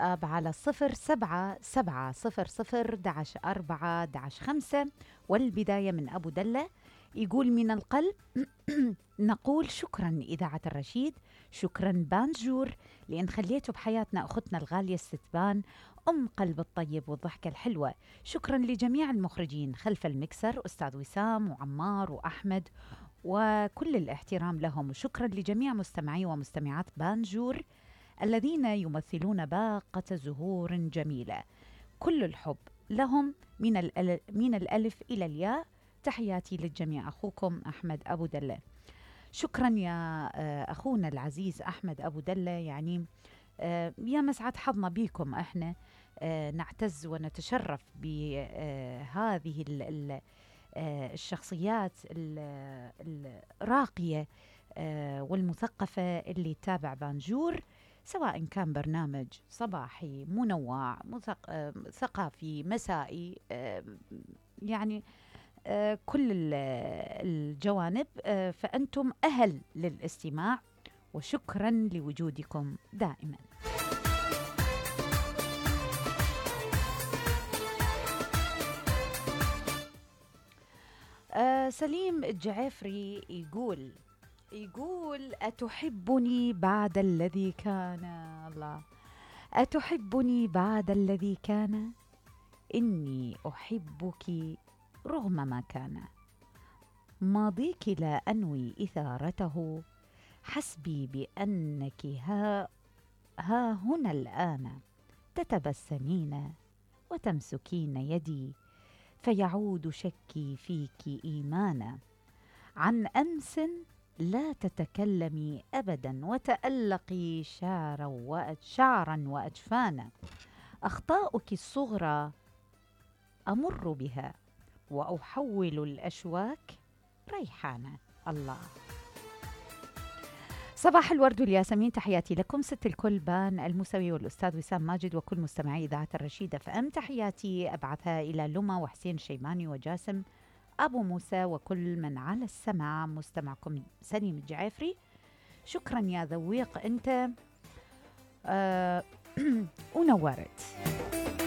على 0770 11 4 والبداية من أبو دلة. يقول من القلب نقول شكرا إذاعة الرشيد، شكرا بانجور لأن خليتوا بحياتنا أختنا الغالية الستبان أم قلب الطيب والضحكة الحلوة. شكرا لجميع المخرجين خلف المكسر، أستاذ وسام وعمار وأحمد وكل الاحترام لهم. وشكرا لجميع مستمعي ومستمعات بانجور الذين يمثلون باقة زهور جميلة. كل الحب لهم من الألف إلى الياء. تحياتي للجميع، أخوكم أحمد أبو دلة. شكرا يا أخونا العزيز أحمد أبو دلة، يعني يا مسعد حظنا بيكم. احنا نعتز ونتشرف بهذه الشخصيات الراقية والمثقفة اللي تتابع بانجور، سواء كان برنامج صباحي منوع ثقافي مسائي، يعني كل الجوانب. فأنتم أهل للاستماع، وشكرا لوجودكم دائما. سليم الجعفري يقول أتحبني بعد الذي كان؟ الله، أتحبني بعد الذي كان؟ إني أحبك رغم ما كان. ماضيك لا أنوي إثارته، حسبي بأنك ها هنا الآن، تتبسمين وتمسكين يدي، فيعود شكي فيك إيمانا. عن أمس لا تتكلمي أبدا، وتألقي شعرا وأجفانا. أخطاؤك الصغرى أمر بها، وأحول الأشواك ريحانا. الله، صباح الورد والياسمين، تحياتي لكم ست الكل بان الموسوي والأستاذ وسام ماجد وكل مستمعي إذاعة الرشيدة فأم. تحياتي أبعثها إلى لما وحسين الشيباني وجاسم أبو موسى وكل من على السماع. مستمعكم سليم الجعفري. شكرا يا ذويق أنت ونورت.